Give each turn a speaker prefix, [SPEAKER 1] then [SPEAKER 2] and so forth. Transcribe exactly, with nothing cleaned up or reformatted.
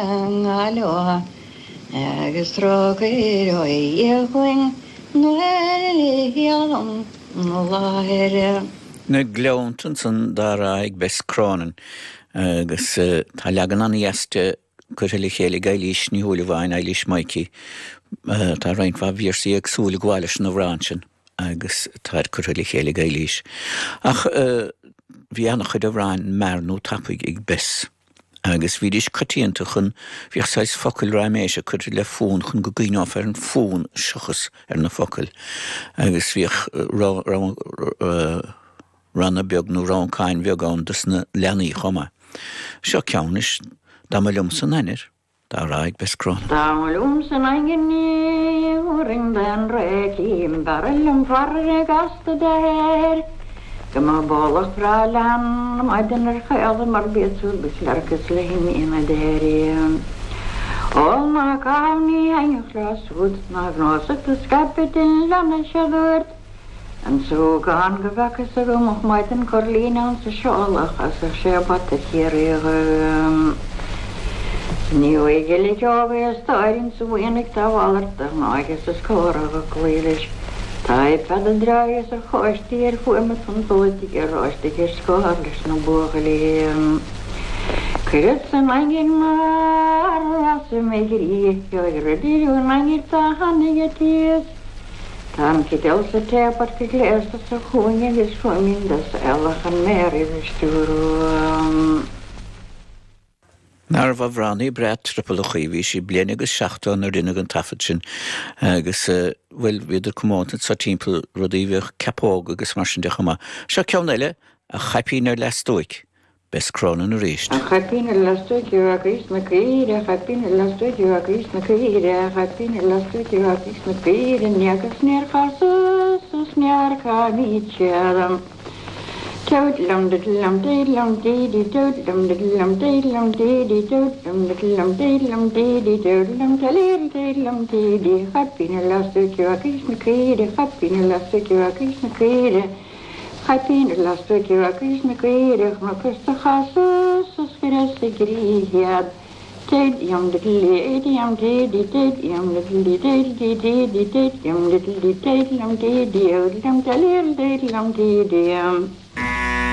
[SPEAKER 1] Ngaillimhe agus trócaire ó Dhia chugainn na láthair.
[SPEAKER 2] Na Gleannta ansan dá rá ag Bess Cronin agus tá leagan an-deas de curtha le chéile ag Eilís Ní Shúilleabháin, Eilís Mikey. Tá roinnt mhaith véarsaí éagsúla ag gabháil leis an amhrán sin agus tá curtha le chéile ag Eilís. Ach bhí an-chuid amhráin mear nó tapaidh ag Bess. Agus bhídís coitianta chun bhíodh saghas focail raiméise curtha le fonn chun go gcuimhneofaí ar an bhfonn seachas ar na focail. Agus bhíodh ranna beag nó rancáin bheag ann dos na leanaí chomh maith. Seo ceann anois dá mba liom san ainnir dá rá ag Bess Cronin.
[SPEAKER 1] Dá mba liom san ainnir ní thabharfainn d'aon réic í b'fhearr liom farraige gasta d'fhear go mbeadh bólach breá leathan maidin ar chaola mar bíodh súil is learcas le himíon a déiríonn. Ól ná caitheamh ní thaitneodh leo súd ná gnósacht a scaipeadh den leanna seo dúirt an súgán go bhfeacthas agam ach maidin cur líne ann sa seoladh chasfadh sé bata Chiarraí dhom. Ní uaidh eile ceoga is stáirín sa bhuíonach dá mhalairt de ghnáth is is córa go cloí leis. Tá fada dráigh is ar chóistí ar fuaim an dóite ar ráiste ar scór leis na buachaillí. Cuireadh san ainnir mar as mé grí ruidir an ainnir tá tháinig a tíos. Tá an citeal sa téapar go gléasta sa chúinne agus fuaimín des eallach an méar a stiúrú.
[SPEAKER 2] Nárbh amhránaí breá triopallach í, bhí sí bliain agus seachtó nuair a rinneadh an taifead sin agus bhuel bhíodar comónta sa timpeall rudaí bhíodh ceapóg agus mar sin de chomh maith. Seo ceann eile a chaipín ar leathstuaic, Bess Cronin arís.
[SPEAKER 1] A chaipín ar leathstuaic agus na caoire, a chaipín ar leathstuaic agus na caoire, a chaipín ar leathstuaic agus na caoire, neachas níor chasas is near caimíd siadam. Toad-lum diddle-lum diddle-lum dee-dee toad-lum diddle-lum diddle-lum dee-dee toad-lum diddle-lum diddle-lum dee-dee toad-lum talil diddle-lum dee-dee chaipín ar leathstuaic agus na caoire, chaipín ar leathstuaic agus na caoire, chaipín ar leathstuaic agus na caoire, chnocas do chasas is chuireas i gcrích iad. Toad-yum diddle-dee-yum dee-dee toad-yum diddle-dee diddle-dee dee-dee toad-yum diddle-dee diddle-lum dee-dee toad-lum talil diddle-lum dee-dee.